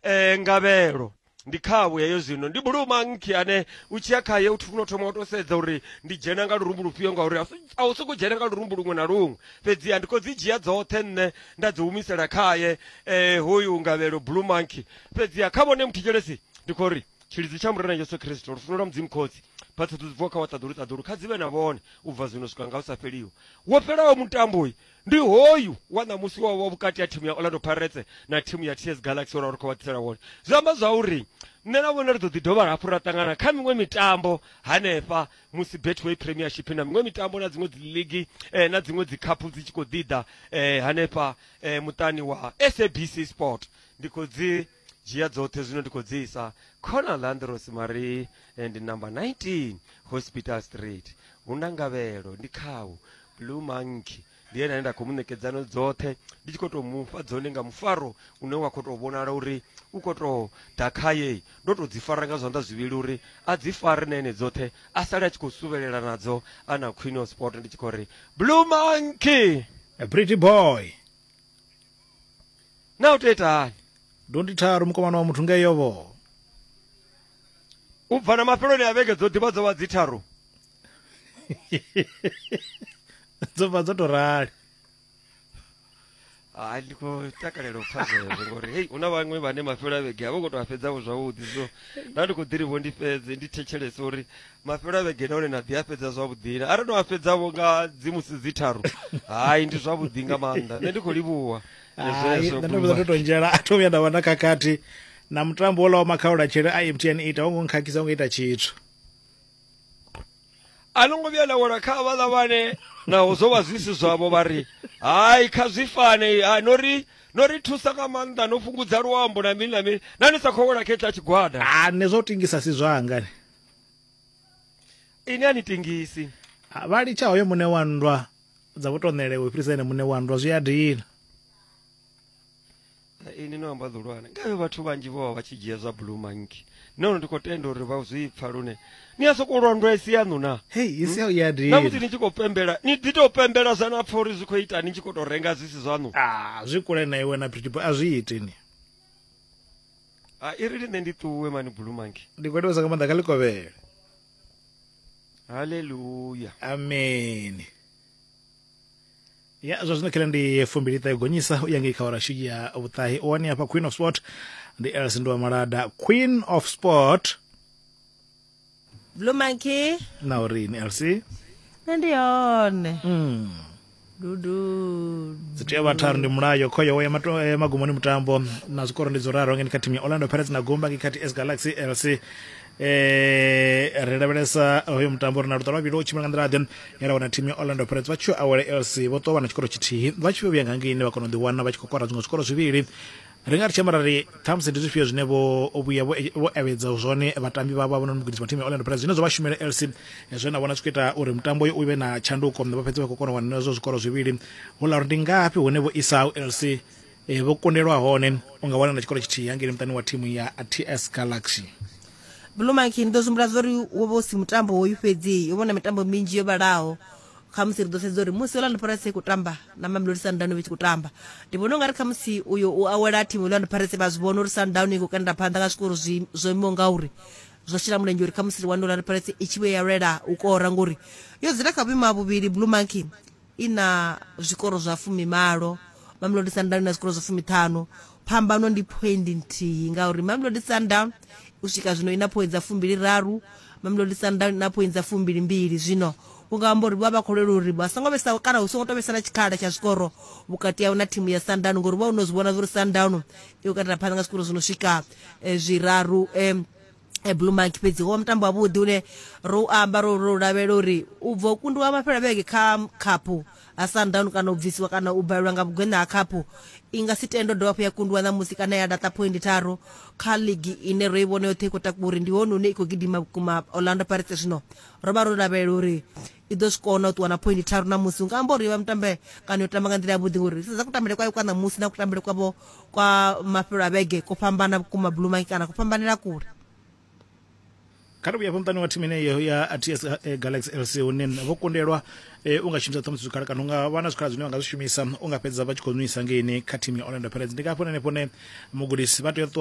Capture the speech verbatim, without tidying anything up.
eh, Ngavhelo ndi khavhu heyo. Zwino ndi Blue Monkey ane u tshiya khaye u funa u thoma u to sedza uri ndi dzhena nga lurumbu lufhio, ngauri a u sokou dzhena nga lurumbu luṅwe na luṅwe. Fhedziha ndi khou dzi dzhia dzoṱhe nṋe nda dzi humisela khaye eh, hoyu Ngavhelo Blue Monkey. Fhedziha kha vhone muthetshelesi ndi khou ri tshilidzi tsha Murena Yesu Kristo, lufuno lwa Mudzimu Khotsi, phaṱhutshedzo dzi bvaho kha wa ṱaḓulu ṱaḓulu kha dzi vhe na vhone u bva zwino swika nga hu sa fheliho. Wo fhelaho mutambo ndi hoyu wa ṋamusi wa wa vhukati ha thimu ya Orlando Pirates na thimu ya T S Galaxy uri khou vha ḓisela wone. Zwi amba zwa uri nṋe na vhone ri ḓo ḓi dovha hafhu ra ṱangana kha miṅwe mitambo hanefha musi Betway Premiership na miṅwe mitambo na dziṅwe dzi league eh, na dziṅwe dzi cup dzi tshi khou ḓi ḓa eh, hanefha eh, muṱani wa S A B C Sport. Ndi khou dzi dzhia dzoṱhe zwino ndi khou dzi isa Corner Landros Marie and number nineteen Hospital Street. Hu na Ngavhelo ndi khau Blue Monkey ndi ene ane nda khou mu ṋekedzano dzoṱhe ndi tshi khou tou mufha dzone nga mufaro une wa khou tou vhonala uri u khou tou ḓa khaye. Ndo tou dzi fara nga zwanḓa zwivhili uri a dzi fare na ene dzoṱhe a sale a tshi khou suvhelela nadzo a na Queen of Sport. Ndi tshi khou ri Blue Monkey, a pretty boy. Na u tou ita hani? Dondi tharu mukomana wa muthu ngeyo vho. U bva na mafheloni a vhege dzo ḓivha dzo vha dzi tharu. Dzo bva dzo to rali. Hai, ndi khou takalela u pfa zwezwo ngori hei hu na vhaṅwe vhane mafhelo a vhege a vho ngo tou a fhedza vho zwavhuḓi, so nda ndi khou ḓi ri vho ndi fhedze ndi thetshelese uri mafhelo a vhege nahone na ḓi a fhedza zwavhuḓi na arali no a fhedza vho nga dzi musi dzi tharu, hai ndi zwavhuḓi nga maanḓa. Nṋe ndi khou livhuwa zwezwo. Nṋe ndo vhuya ndo to nzhela a tho vhuya nda vha na khakhathi na mutambo wola wa makhaula tshele a M T N ita wo ngo nkhakhisa ngo ita tshithu. A no ngo vhuya na wela kha vhaḽa vhane naho zwo vha zwi si zwavho vha ri hai kha zwi fane, hai no ri no ri thusa nga maanḓa, no fhungudza luambo na mini na mini, na ni sa khou wela kha hetshiḽa tshigwada. A nṋe zwo tingisa si zwanga. Ini a ni tingisi. Vha litsha hoyo muṋe wa nndwa dza vho to ṋelewa u fhirisa ene muṋe wa nndwa, zwi a dina. Ini no amba ḓulwane ngavhe vhathu vhanzhi vho vha vha tshi dzhia zwa Blue Monkey. Nṋe ndi khou tenda uri vha zwi pfa lune ni a sokou lwa nndwa isi yaṋu na. Hei isi ya dina. Na musi ni tshi khou pembela ni ḓi tou pembela zwa na pfa uri zwi khou ita ni tshi khou tou renga zwi si zwaṋu. Ah, zwi kule na iwe na Pretty Boy a zwi iti ni. Ah, i ri nṋe ndi ṱuwe mani Blue Monkey. Ndi khou livhuwa nga maanḓa kha ḽikovhele. Hallelujah. Amen. Ya zwa zwino khela ndi fumbili ṱahe gonyisa u ya ngei kha awara ya vhuṱahe. U wani hafha Queen of Sport ndi Elsie Nduwa Malada. Queen of Sport Blue Monkey na uri ni Elsie nṋe ndi hone. Mm. Dudu dzi tea vha tharu ndi mulayo khoyo ya magumoni mutambo na zwikoro ndi dzo raru ngeni kha thimu ya Orlando Pirates na gumba ngei kha T S Galaxy. Elsie eh ri lavhelesa hoyo mutambo ri na luṱa lwa vhili u tshimbila nga nḓila ḓe ya ra wana thimu ya Orlando Pirates vha tshi awela Elsie vho ṱuwa na tshikoro tshithihi vha tshi vhuya nga ngeini vha kona u ḓi wana vha tshi khou kora zwiṅwe zwikoro zwivhili. Ri nga ri tshi amba ri ṱhamusi ndi zwifhio zwine vho vhuya vho evhedza zwone vhatambi vhavho vha no mugudisi wa thimu ya Orlando Pirates zwine zwo vha shumela Elsie zwe na vhona zwi khou ita uri mutambo uyo u vhe na tshanduko vha fhedze vha khou kona u wana hezwo zwikoro zwivhili. Hu ḽa uri ndi ngafhi hune vho isaho Elsie vho kundelwa hone u nga wana na tshikoro tshithihi hangeini muṱani wa thimu ya T S Galaxy. Blue Monkey ndi ḓo zwihumbula zwa uri wo vha u si mutambo hoyu fhedzi, yo vhona mitambo minzhi yo vhalaho. Khamusi ri ḓo sedza uri musi Orlando Pirates i khou tamba na Mamelodi Sundowns vha tshi khou tamba, ndi vhona ungari khamusi uyo u awela thimu Orlando Pirates vha zwi vhona uri Sundowns i khou kanda phanḓa nga zwikoro zwi zwo imaho ngauri zwo shela mulenzhe uri khamusi ri wane Orlando Pirates i tshi vhuya ya lwela u kora, ngori yo dzula kha vhuimo ha vhuvhili. Blue Monkey i na zwikoro zwa fumimalo, Mamelodi Sundowns na zwikoro zwa fumiṱhanu. Phambano ndi phoindi nthihi ngauri Mamelodi Sundowns u swika zwino ina phoindi dza fumbili raru, Mamelodi Sundowns na phoindi dza fumbili mbili. Zwino u nga amba uri vha vha khou lwela uri vha songo vhesa kana hu songo tou vhesa na tshikhala tsha zwikoro vhukati hao na thimu ya Sundowns, ngori vha no zwi vhona uri Sundowns i khou katela phanḓa nga zwikoro zwi no swika zwiraru. Blue Monkey fhedzi wo mutambo wavhuḓi une ro amba ro ro lavhelela uri u bva u kundiwa mafhelo a vhege kha khaphu ha Sundowns kana u bvisiwa kana u balelwa nga vhugwena ha khaphu i nga si tendo dovha hafhu ya kundiwa ṋamusi kana ya laṱa phoindi tharu kha ligi ine ro i vhona yoṱhe i khou takuwa uri ndi hone hune i khou gidima vhukuma Orlando Pirates. Zwino ro vha ro lavhelela uri i ḓo zwi kona u ṱuwa na phoindi tharu ṋamusi. U nga amba uri vha mutambe kana yo tamba nga nḓila yavhuḓi ngori sedza kutambele kwayo kwa ṋamusi na kutambele kwavho kwa mafhelo a vhege ko fhambana vhukuma Blue Monkey kana ku fhambanela kule. Kha ri vhuye hafho muṱani wa thimu ineyo ya T S Galaxy L C, hune vho kundelwa eh, u nga shumisa ṱhamusi zwikhala kana u nga vha na zwikhala zwine vha nga zwi shumisa, u nga fhedza vha tshi khou nwisa ngeini kha thimu ya Orlando Pirates. Ndi nga hafho henefho hune mugudisi vha tea u ṱuwa.